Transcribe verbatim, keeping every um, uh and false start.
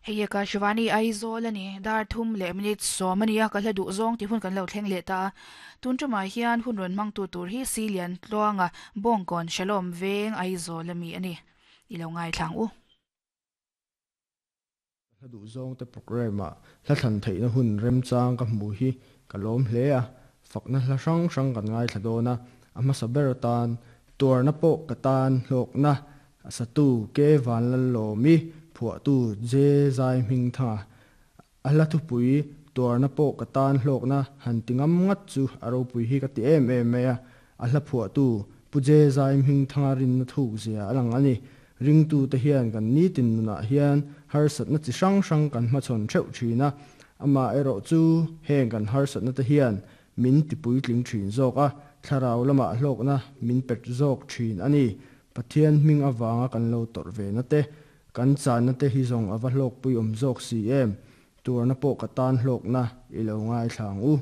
Hei Akashvani Aizawl ani dar thum leh minute sawm ania ka hla duh zawng ti hun kan lo thleng leh ta tun tumah hian hun rawn hmang tu tur hi Silian Tluanga Bawngkawn Shalom Veng Aizawl ami ani ilo ngai thlang u. Hla duh zawng te program ah hla thlan theihna hun remchang ka hmu hi ka lawm hle a, fakna hla hrang hrang kan ngaithla dawn a, a hmasa ber atan tuarna pawh ka tan hlawkna a satu Ke Vanlallawmi phuahtu J Zai Hmingthanga a hla thupui tuarna pawh ka tan hlawkna han ti ngam ngat chu a ropui hi ka ti em em mai a, a hla phuahtu Pu J Zai Hmingthanga rinna thuk zia a lang a ni. Ringtute hian kan nitin nunah hian harsatna chi hrang hrang kan hmachhawn theuh thin a, amaherawhchu heng kan harsatna te hian min tipuitling thin zawk a, thlarau lamah hlawkna min pet zawk thin a ni. Pathian hming avanga kan lo tawrh ve na te, kan channa te hi zawng a va hlawkpui awm zawk si em! Tuarna pawh ka tan hlawkna i lo ngaithla ang u.